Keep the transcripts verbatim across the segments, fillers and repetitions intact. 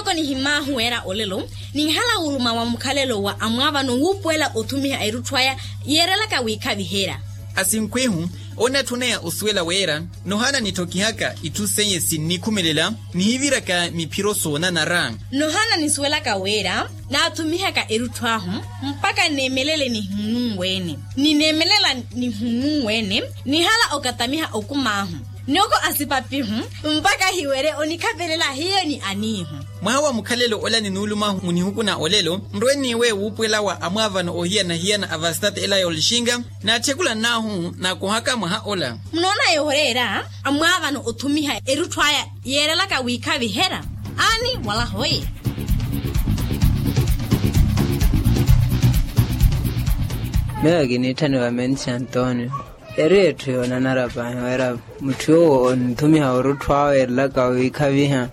Oko nihimaahu weera olelo ninhala wuluma wa mukhalelo wa amwaavano wuupuwela othumiha erutthu aya yeerelaka wiikhaviherya. Asinkhwihu, onatthuneya osuwela weera nohaana nitthokihaka itthu seiye sinnikhumelela nihiviraka miphiro soonanara. Nohaana nisuwelaka weera naathumihaka erutthu ahu mpakha nneemelele nihununwe-ene. Ninneemelela nihununwe-ene nihala okatamiha okumaahu. Noko asipapihu mpakha hiwerye onikhapelela hiyo ni aniihu. Mwaha wa mukhalelo ola ninuuluma munihuku na olelo nrwe-eniiwe wuupuwela wa amwaavano ohiyana-hiyana a vastate ela yoolixinka. Naatthekula nnaahu naakohaka mwaha ola. Munoona yooreera amwaavano othumiha erutthu aya yeerelaka wiikhaviherya. Aani wala hoye. Meyo kiniitthaniwa mensi antonio. Eri etthu yoonanara paahi wira mutthu yoowo onithumiha orutthu awe erelaka wiikhaviha.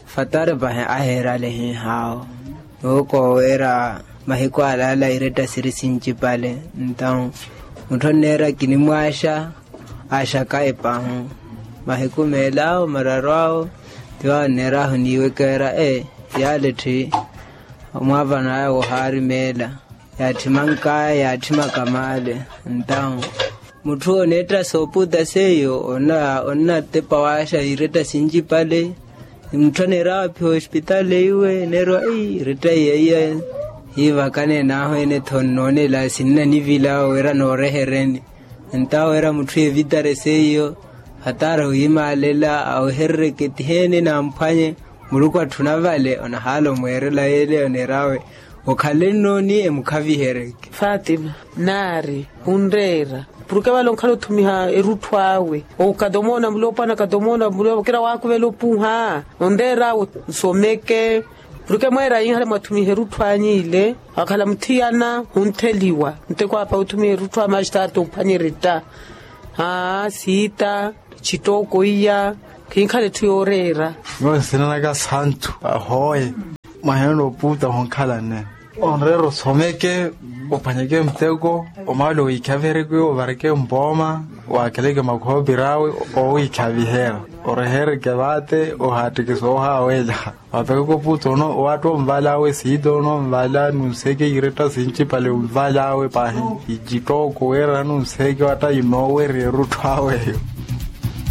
Fatari paahi aheerale hiihaawo. Nooko wira mahiku alaala iretta siri sincipale. Ntawu mutthu onneera kinimwaaxa aaxaka epaahu. Mahiku meelaawo mararu awo tiwaawo onneeraahu niiweke wira ee yaale tthi. Omwaavano aya wohaari meela yaatthimankaya yaatthimaka maale. Ntawu mutthu oneetta sooputa seiyo onnatepa waaxa iretta sincipale. Mutthu aneera waaphiwa ospitaali iwe neeriwa iretta iya iya. Hiivakane naahu ene tho nnoonela sinnanivila wira noorehereni. Ntawo wira mutthu evitare seiyo hatara wiimaalela aweherereke tiheene namphwanye. Muluku atthuna vale onahaala omweerela yeele oneerawe okhale nnooni emukhaviheryeke. Fatima naari khunreera puruke vale onkhala othumiha erutthu awe. Okatomoona mulopwana katomoona mulopwana kira waakuvela opuha onreera awe nsomeke. Puruke mweera yinhala mwathumiha erutthu anyu ile wakhala muthiyana khuntheliwa nteko apa othumiha erutthu a mastarte omphwanya eretta. Haa siita. Cittooko iya khinkhala etthu yooreera. Miyo nsinanaka santu ahoye. Mwaheena oputa honkhalane onreera osomeke ophwanyeke muteko omaale owiikhaviheryeke ovareke mpooma. Waakeleke makhoopiri awe owiikhaviherya orehereke vaate ohaattikisa oohaawela. Wapekeke oputa ono owaatta omvala awe siita ono omvala nunseke iretta sincipale omvala awe paahi. Icittooko weerana nunseke watta inoowerya erutthu awe eyo.